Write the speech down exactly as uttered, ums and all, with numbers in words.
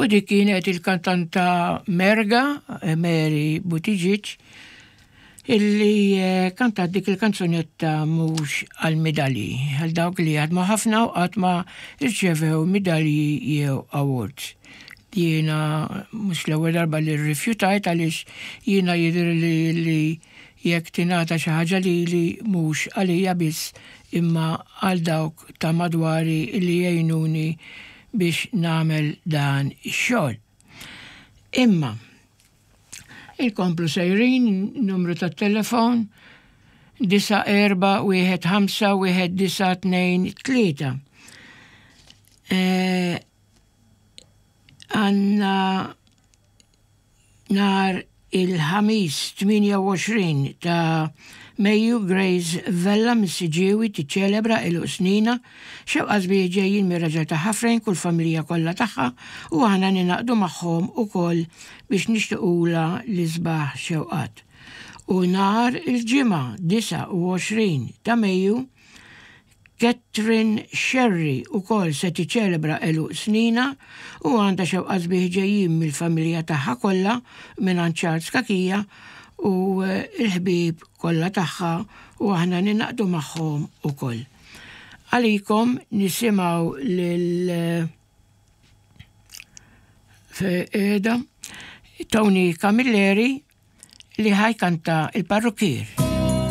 U dik kienet il-kantanta Merga, Mary Buttigieg, illi eh, kantat dik il-kanzunetta mhux għal-medalji, għal dawk li jaħdmu ħafna u qatt ma rċevew medalji jew awards. Jiena mhux l-ewwel darba li rrifjutajt għaliex jiena jidher li li jekk tingħata xi ħaġa lili mhux għalija biss imma għal dawk ta' madwari li jgħinuni biex nagħmel dan ix-xogħol. Imma inkomplu sejrin numru tat-telefon disa' erba' wieħed ħamsa wieħed disa' tnejn tlieta. Eh, għandna nhar il-Ħamis tmienja u għoxrin ta' Mejju Grace Vella mis-Siġġiewi tiċċelebra għeluq snina, xewqa sbieħ ġejjin mir-raġel tagħha Frank u l-familja kollha tagħha u aħna ningħaqdu magħhom ukoll biex nixtiqulha l-isbaħ xewqat. U nhar il-Ġimgħa disgħa u għoxrin ta' Mejju Catherine Scerri wkoll se tiċċelebra għeluq snina u għandha xewqa sbieħ ġejjin mill-familja tagħha kollha mingħand Charles Cachia u l-ħbieb kollha tagħha u aħna ningħaqdu magħhom ukoll. Għalikom nisimgħu lil qiegħda Tony Camilleri li ħa jkanta il-parrukkier.